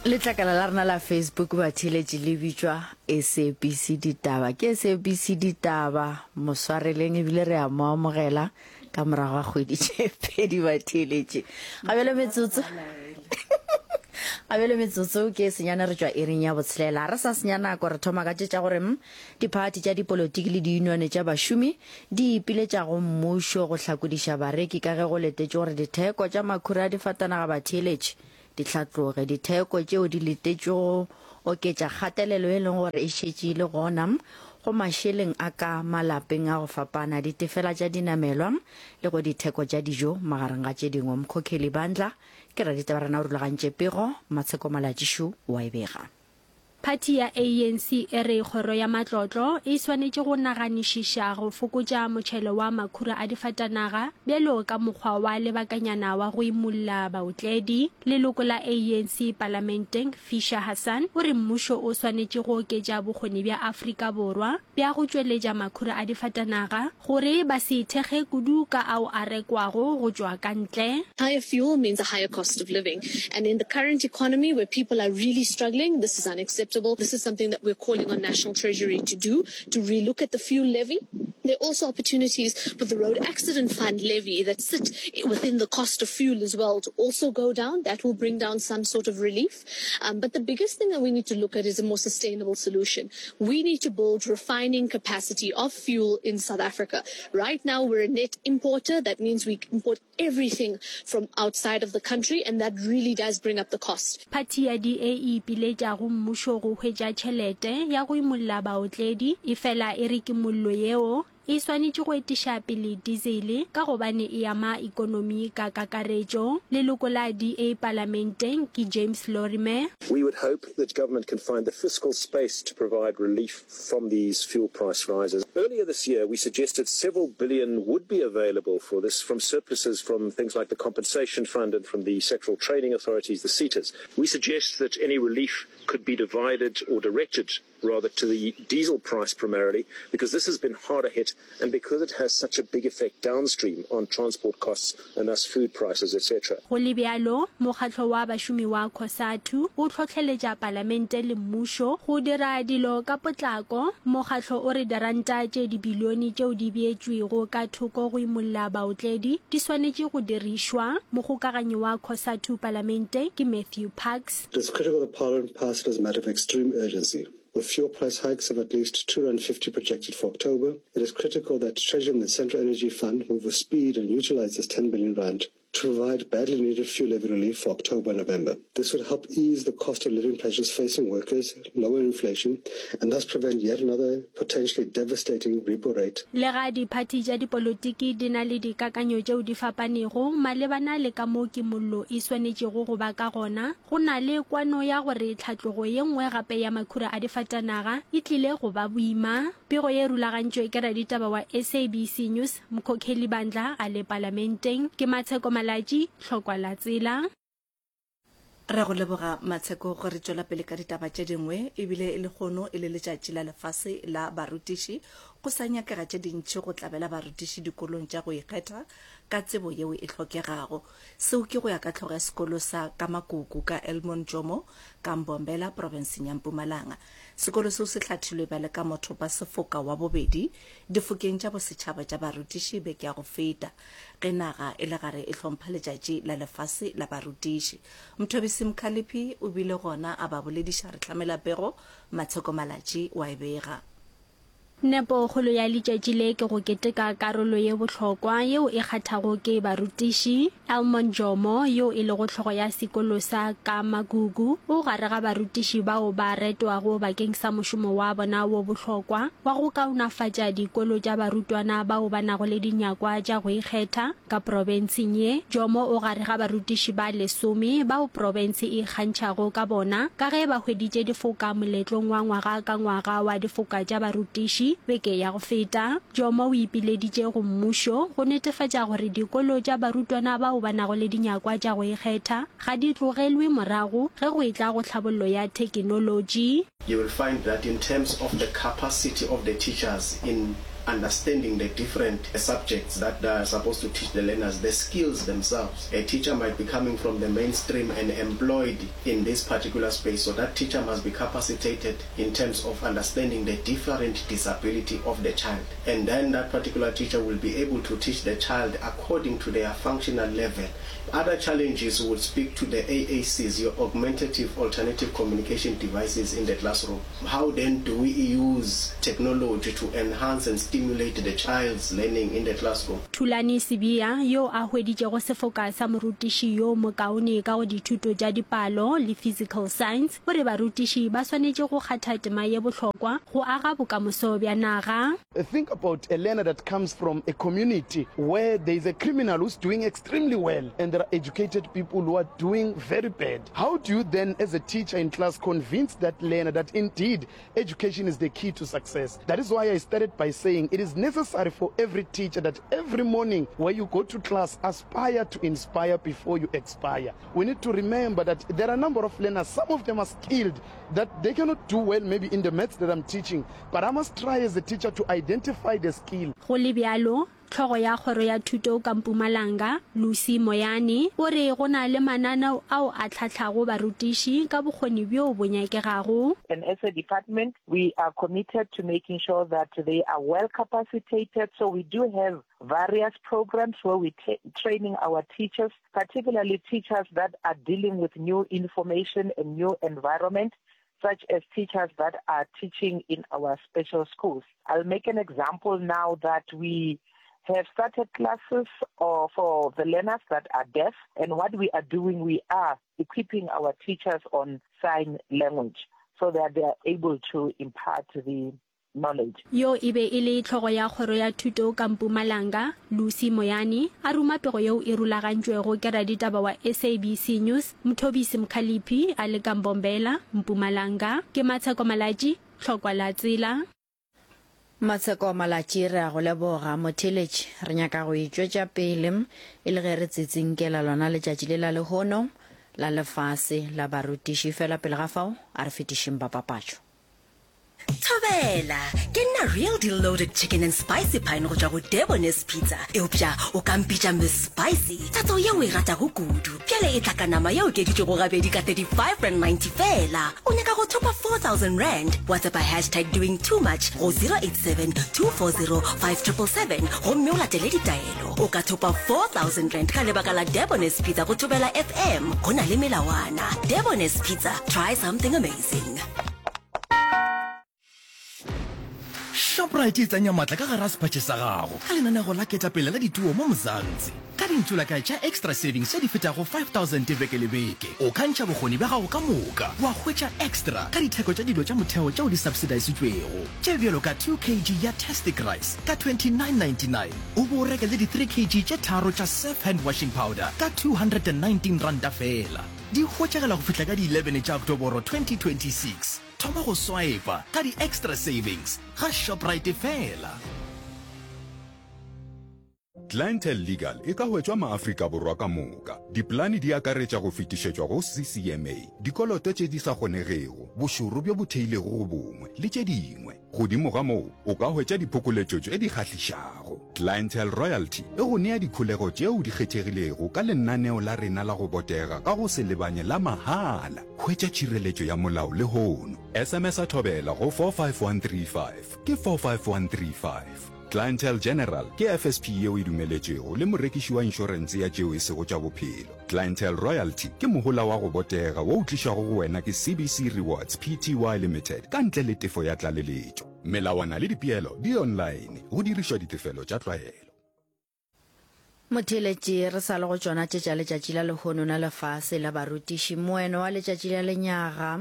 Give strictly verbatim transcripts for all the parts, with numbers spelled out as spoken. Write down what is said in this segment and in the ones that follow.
Letlakala la rena la Facebook batheeletši le bitšwa S A B C Ditaba. Ke S A B C Ditaba, moswareleng ebile re a mo amogela ka morago ga kgwedi tše pedi batheeletši. Ga bjale metsotso ga bjale metsotso ke senyane re tšwa iring ya botshelela. Re sa senya nako re thoma ka tše tša gore mm, diphathi tša dipolotiki le diyunione tša bašomi di ipiletša go mmušo go hlakodiša bareki ka ge go letetše gore ditheko tša makhura a difatanaga batheeletši di hlatloge. Ditheko tšeo di letetšwe go oketša kgatelelo e leng gore e šetše e le gona go mašeleng a ka malapeng a go fapana, ditefela tša dinamelwa le go ditheko tša dijo magareng ga tše dingwe. Mkhokheli Bandla ke raditaba rena o rulagantše pego, Matsheko Malatšišu wa e bega. Phathi ya A N C e re kgoro ya matlotlo e swanetše go naganišiša go fokotša motšhelo wa makhura a difatanaga bjalo ka mokgwa wa lebakanyana wa go imulla baotledi. Leloko la A N C palamenteng Fisher Hassan o re mmušo o swanetše go oketša bokgoni bja Afrika Borwa bja go tšweletša makhura a difatanaga gore ba se ithekge kudu ka ao a rekwago go tšwa ka ntle. Higher fuel means a higher cost of living. And in the current economy where people are really struggling, this is unacceptable. This is something that we're calling on National Treasury to do, to relook at the fuel levy. There are also opportunities for the Road Accident Fund levy that sit within the cost of fuel as well to also go down. That will bring down some sort of relief. Um, but the biggest thing that we need to look at is a more sustainable solution. We need to build refining capacity of fuel in South Africa. Right now, we're a net importer. That means we import everything from outside of the country, and that really does bring up the cost. Phathi ya D A e ipiletša go mmušo go hwetša tšhelete ya go imolla baotledi, efela e re kimollo yeo e swanetše go etiša pele diesel ka gobane e ama ikonomi ka kakaretšo. Leloko la D A palamenteng ke James Lorimer. We would hope that government can find the fiscal space to provide relief from these fuel price rises. Earlier this year, we suggested several billion would be available for this from surpluses from things like the Compensation Fund and from the sectoral training authorities, the SETAs. We suggest that any relief could be divided or directed rather to the diesel price primarily, because this has been harder hit and because it has such a big effect downstream on transport costs and thus food prices, et cetera Go le bjalo, mokgatlo wa bašomi wa COSATU o hlohleletša palamente le mmušo go dira dilo ka potlako. Mokgatlo o re diranta tše dibilione tšeo di beetšwego ka thoko go imolla baotledi di swanetše go dirišwa. Mogokaganyi wa COSATU palamente ke Matthew Parks. It is critical that Parliament pass it as a matter of extreme urgency. With fuel price hikes of at least two hundred fifty projected for October, it is critical that Treasury and the Central Energy Fund move with speed and utilize this ten billion rand to provide badly needed fuel levy relief for October and November. This would help ease the cost of living pressures facing workers, lower inflation, and thus prevent yet another potentially devastating repo rate. Le ga diphathi tša dipolotiki di na le dikakanyo tšeo di fapanego malebana le ka moo kimollo e swanetšego go ba ka gona, go na le kwano ya gore tlhatlogo ye nngwe gape ya makhura a difatanaga e tlile go ba boima. Pego ye rulagantšwe ke raditaba wa S A B C News Mkhokheli Bandla a le palamenteng. Ke Matsheko Malatši, Tlhokwa la Tsela. Re go leboga Matsheko. Gore re tšwela pele ka ditaba tše dingwe, ebile e lehono e le letšatši la lefase la barutiši, go sa nyakega tše dintši go tlabela barutiši dikolong tša go ikgetha ka tsebo yeo e hlokegago. Seo ke go ya ka tlhogo ya sekolo sa Kamakuku ka Elmon Jomo ka Mbombela profenseng ya Mpumalanga. Sekolo seo se hlathilwe bjale ka mothopa sefoka wa bobedi difokeng tša bosetšhaba tša barutiši beke ya go feta ge naga e le gare e hlompha letšatši la lefase la barutiši. Mthobisi Mkhaliphi o bile gona a ba bolediša. Re hlamela pego, Matsheko Malatši wa e bega. Nepokgolo ya letšatši le ke go keteka karolo ye bohlokwa yeo e kgathago ke barutiši. Elmon Jomo yo e lego hlogo ya sekolo sa Kamagugu o gare ga barutiši bao ba retwago bakeng sa mošomo wa bona wo bohlokwa wa go kaonafatša dikolo tša barutwana bao ba nago le dinyakwa tša go ikgetha ka profenseng ye. Jomo o gare ga barutiši ba lesome bao profense e ikgantšhago ka bona ka ge ba hweditše difoka moletlong wa ngwaga ka ngwaga wa difoka tša barutiši beke ya go feta. Jomo o ipileditše go mmušo go netefatša gore dikolo tša barutwana bao ba nago le dinyakwa tša go ikgetha ga di tlogelwe morago ge go etla go tlhabollo ya thekenolotši. You will find that in terms of the capacity of the teachers in understanding the different subjects that they are supposed to teach the learners, the skills themselves. A teacher might be coming from the mainstream and employed in this particular space, so that teacher must be capacitated in terms of understanding the different disability of the child. And then that particular teacher will be able to teach the child according to their functional level. Other challenges would speak to the A A Cs, your augmentative alternative communication devices in the classroom. How then do we use technology to enhance and stimulate the child's learning in the classroom? Thulani Sibiya, yo a hweditšego sefoka sa morutiši yo mokaone ka go dithuto tša dipalo le physical science, o re barutiši ba swanetše go kgatha tema ye bohlokwa go aga bokamoso bja naga. Think about a learner that comes from a community where there is a criminal who's doing extremely well and there are educated people who are doing very bad. How do you then, as a teacher in class, convince that learner that indeed education is the key to success? That is why I started by saying it is necessary for every teacher that every morning where you go to class, aspire to inspire before you expire. We need to remember that there are a number of learners, some of them are skilled, that they cannot do well maybe in the maths that I'm teaching, but I must try as a teacher to identify the skill. Go le bjalo, hlogo ya kgoro ya thuto ka Mpumalanga, Lucy Moyane, o re go na le mananeo ao a hlahlago barutiši ka bokgoni bjo bo nyakegago. And as a department, we are committed to making sure that they are well capacitated. So we do have various programs where we're training our teachers, particularly teachers that are dealing with new information and new environment, such as teachers that are teaching in our special schools. I'll make an example now that we have started classes uh, for the learners that are deaf, and what we are doing, we are equipping our teachers on sign language so that they are able to impart the knowledge. Yo e be e le hlogo ya kgoro ya thuto ka Mpumalanga, Lucy Moyane, a ruma pego yeo e rulagantšwego ke raditaba wa S A B C News, Mthobisi Mkhalipi, a le ka Mbombela, Mpumalanga. Ke Matsheko Malatji, Tlhokwa la Tsela. Matsheko Malatji, re a go leboga. Motheletši, re nyaka go itšwetša pele e le ge re tsitsinkela lona letšatši le la lehono la lefase la barutiši. Fela pele ga fao, a re fetišeng ba papatšo. Thobela, ke nna Real Deal Loaded Chicken and Spicy Pine go tšwa go Debonair's Pizza. Eupša o ka mpitša Miss Spicy, tatso yeo e ratago kudu. Bjale e tla ka nama ye okeditšwego gabedi ka thirty-five rand ninety fela. O nyaka go thopa four thousand rand? WhatsApp hashtag doing too much go zero eight seven two four zero five triple seven gomme o latele ditaelo. O ka thopa four thousand rand ka lebaka la Debonair's Pizza go Thobela F M. Go na le melawana. Debonair's Pizza, try something amazing. Shoprite e tsenya matla ka gare ga sephatše sa gago ka lenanego la ketapele la dituo mo Mzansi. Ka dintšolaka tša extra savings tše di fetago five thousand beke le beke, o ka ntšha bokgoni bja gago ka moka wa hwetša extra ka ditheko tša dilo tša motheo tšeo di subsidisitšwego, tše bjalo ka two kg ya Tastic Rice ka twenty-nine ninety-nine, o bo o reke le di three kg tše tharo tša Surf hand washing powder ka two hundred and nineteen ranta fela. Di hwetšagala go fihla ka di eleven tša Oktoboro twenty twenty-six. Thoma go swipe ka di extra savings ga Shoprite fela. Clientele Legal e ka hwetšwa maAfrika Borwa ka moka. Dipolane di akaretša go fetišetšwa go C C M A, dikoloto tše di sa kgonegego, bošoro bjo bo theilego go bongwe, le tše dingwe. Godimo ga moo, o ka hwetša diphokoletšo tše di kgahlišago. Clientele Royalty e go nea dikholego tšeo di kgethegilego ka lenaneo la rena la go botega ka go se lebanye la mahala. Hwetša tšhireletšo ya molao lehono. S M S a Thobela go four five one three five ke four five one three five. Clientele General ke F S P yeo e dumeletšwego le morekiši wa inšorense ya tšeo e sego tša bophelo. Clientele Royalty ke mohola wa go botega wo o tlišwago go wena ke C B C Rewards P T Y Limited ka ntle le tefo ya tlaleletšo. Melawana le dipeelo di online, go dirišwa ditefelo tša tlwaelo. Motheletši, re sa le go tšona tše tša letšatši la lehono la lefase la barutiši. Moeno wa letšatši la lenyaga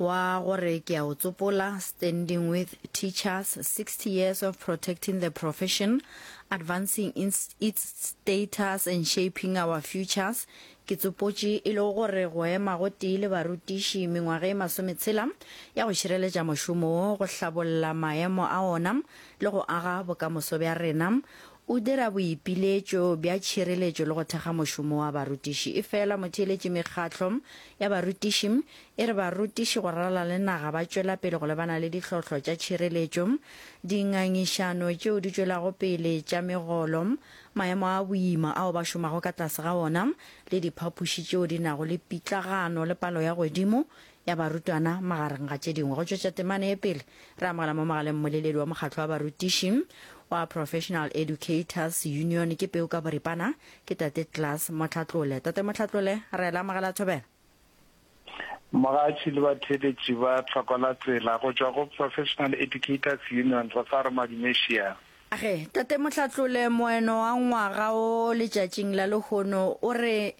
wa gore ke a o tsopola, Standing with Teachers, sixty years of protecting the profession, advancing its status and shaping our futures. Ke tsopotše e le gore go ema go tee le barutiši mengwaga e masometshela ya go šireletša mošomo wo, go hlabolla maemo a ona le go aga bokamoso bja rena. o dira boipiletšo bja tšhireletšo le go thekga mošomo wa barutiši. Efela motheeletši mekgatlo ya barutiši e re barutiši go ralala le naga ba tšwela pele go lebana le ditlhohlo tša tšhireletšo, dingangišano tšeo di tšwelago pele tša megolo, maemo a boima ao ba šomago ka tlase ga ona le diphapoši tšeo di nago le pitlagano le palo ya godimo ya barutwana magareng ga tše dingwe. Go tšwetša temana ye pele, re amogela mo mogaleng mmoleledi wa mokgatlo wa barutiši wa Professional Educators Union ke Peu ka boripana, ke Tate Klaas Mohlatlole. Tate Mohlatlole, re la amogela thobela. Mogatši le batheeletši ba Tlhoko la Tsela go tšwa go Professional Educators Union re sa re Madumešia. Age, Tate Mohlatlole, moeno wa ngwaga wo letšatšing la lehono o re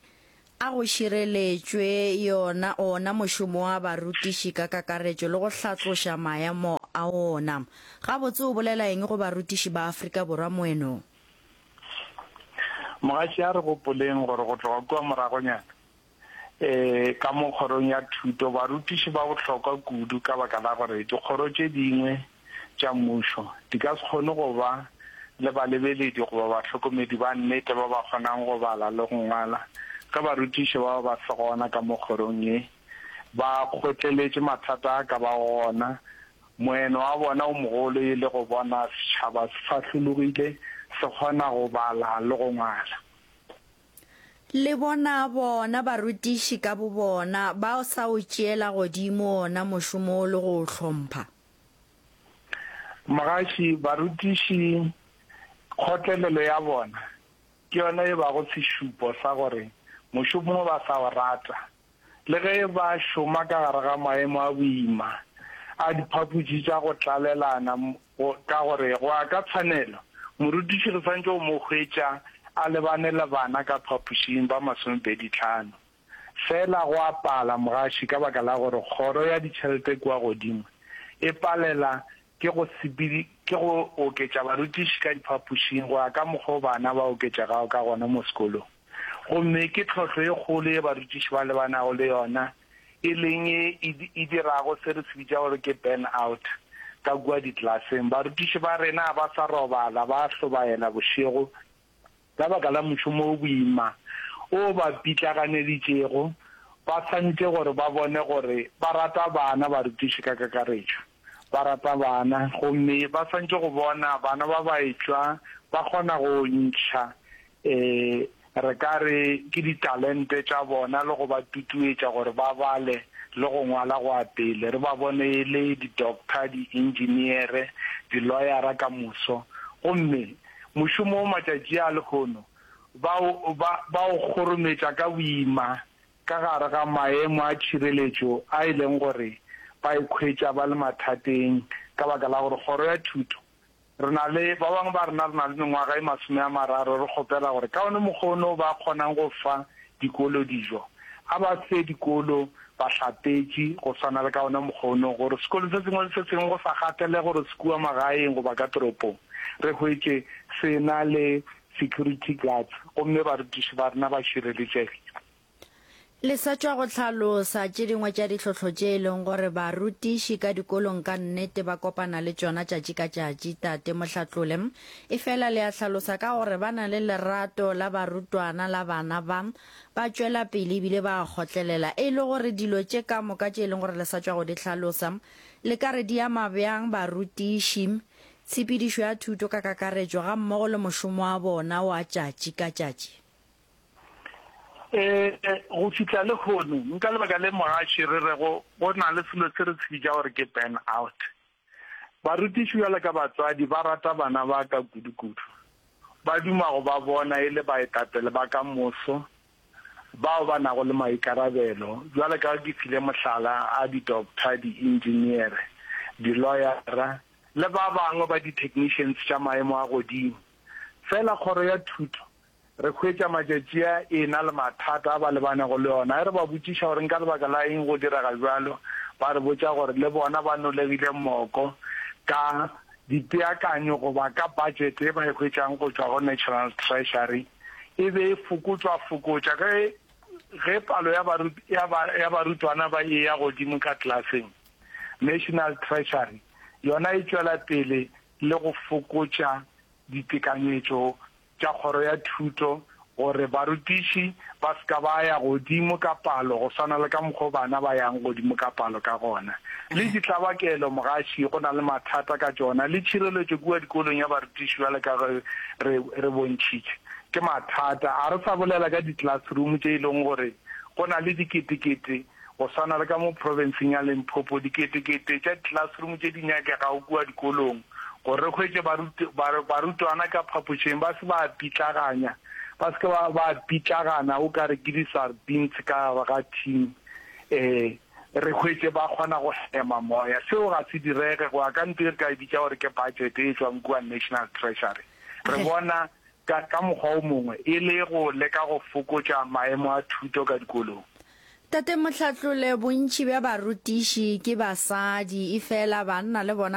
A go šireletšwe yona, ona mošomo wa barutiši ka kakaretšo le go hlatloša maemo a ona. Gabotse o bolela eng go barutiši ba Afrika Borwa moenong? Mogatši, a re gopoleng gore go tloga kua moragonyana, ee, ka mo kgorong ya thuto, barutiši ba bohlokwa kudu ka baka la gore dikgoro tše dingwe tša mmušo di ka se kgone go ba le balebeledi goba bahlokomedi ba nnete ba ba kgonang go bala le go ngwala ge barutiši bao ba se gona ka mo kgorong ye ba kgotleletše mathata a ka bago gona, moeno wa bona o mogolo e le go bona setšhaba se fahlologile se kgona go bala le go ngwala. Le bona bona barutiši ka bobona ba sa o tšeela godimo ona mošomo wo le go o hlompha. Mogaši, barutiši kgotlelelo ya bona ke yona e bago sešupo sa gore mošomo wo ba sa o rata. Le ge ba šoma ka gare ga maemo a boima a diphapoši tša go tlalelana, ka gore go ya ka tshwanelo morutiši re swanetše go mo hwetša a lebane le bana ka phapošing ba masomepedi tlhano. Fela go a pala mogaši ka baka la gore kgoro ya ditšhelete kua godimo e palela ke go sepedi ke go oketša barutiši ka diphapošing go ya ka mokgwa o bana ba oketšegago ka gona mo sekolong. Gomme ke tlhohlo e kgolo ye barutiši ba lebanago le yona, e leng ye e, e dirago se re se bitša gore ke burn out ka kua diklaseng. Barutiši ba rena ga ba sa robala, ba a hlobaela bošego ka baka la mošomo o boima o ba pitlaganeditšego. Ba swanetše gore ba bone gore ba rata bana, barutiši ka kakaretšo ba rata bana, gomme ba swanetše go bona bana ba ba etšwa ba kgona go ntšha e re ka re ke ditalente tša bona le go ba tutuetša gore ba bale le go ngwala go ya pele, re ba bone e le di-doctor, di-engineere, di-lawyera ka moso. Gomme mošomo wo matšatši a lehono ba o, ba, ba o kgorometša ka boima ka gare ga maemo a tšhireletšo a e leng gore ba ikhwetša ba le mathateng ka baka la gore kgoro ya thuto Re na le, ba bangwe ba rena re na le mengwaga e masome a mararo re kgopela gore ka one mokgwa ono ba kgonang go fa dikolo dijo, a ba fe dikolo bahlapetši go swana le ka ona mokgwa ono, gore sekolo se sengwe le se sengwe go sa kgathalege gore se kua magaeng goba ka toropong, re hwetše se na le security guards gomme barutiši ba rena ba šireletšegile. Le sa tšwa go hlalosa tše dingwe tša ditlhohlo tše e leng gore barutiši ka dikolong ka nnete ba kopana le tšona tšatši ka tšatši, Tate Mohlatlole. Efela le a hlalosa ka gore ba na le lerato la barutwana la bana ba, ba tšwela pele ebile ba a kgotlelela. E le gore dilo tše ka moka tše e leng gore le sa tšwa go di hlalosa, le ka re di ama bjang barutiši, tshepedišo ya thuto ka kakaretšo gammogo le mošomo wa bona wa tšatši ka tšatši? Ee, go fihla lehono, nka lebaka le mogaši re rego go na le selo se re se bitša gore ke burn out. Barutiši bjalo ka batswadi ba rata bana ba ka kudu-kudu. Ba duma go ba bona e le baetapele ba ka moso bao ba nago le maikarabelo, bjalo ka ge ke file mohlala a di-doctor, di-engineere, di-lawyera le ba bangwe ba di-technicians tša maemo a godimo. Fela kgoro ya thuto Re hwetša matšatši a e-na le mathata a ba lebanego le ona. Ge re ba botšiša gore nka lebaka la eng go direga bjalo, ba re botša gore le bona ba nolegile moko ka dipeakanyo goba ka budget ye ba e hwetšang go tšwa go National Treasury e be e fokotšwa-fokotša ge ge palo ya ya ya barutwana ba e-ya godimo ka klaseng. National Treasury yona e tšwela pele le go fokotša ditekanyetšo tša kgoro ya thuto gore barutiši ba se ka ba ya godimo ka palo go swana le ka mokgwa o bana ba yang godimo ka palo ka gona. Le ditlabakelo, mogaši, go na le mathata ka tšona, le tšhireletšo kua dikolong ya barutiši bjalo ka ge re, re bontšhitše, ke mathata. A re sa bolela ka di-classroom tše e leng gore go na le diketekete Go swana le ka mo profenseng ya Limpopo, diketekete tša di-classroom tše di nyakegago kua dikolong gore re hwetše barutwana ka phapošeng ba se ba pitlaganya, ba se ke ba ba pitlagana o ka re ke di-sardines ka gare ga tin, ee, re hwetše ba kgona go hema moya. Seo ga se direge go ya ka ntho e re ka e bitša gore ke budget e tšwang kua National Treasury. Re bona ka, ka mokgwa o mongwe e le go leka go fokotša maemo a thuto ka dikolong. Tate Mohlatlole, bontši bja barutiši ke basadi, efela banna le bona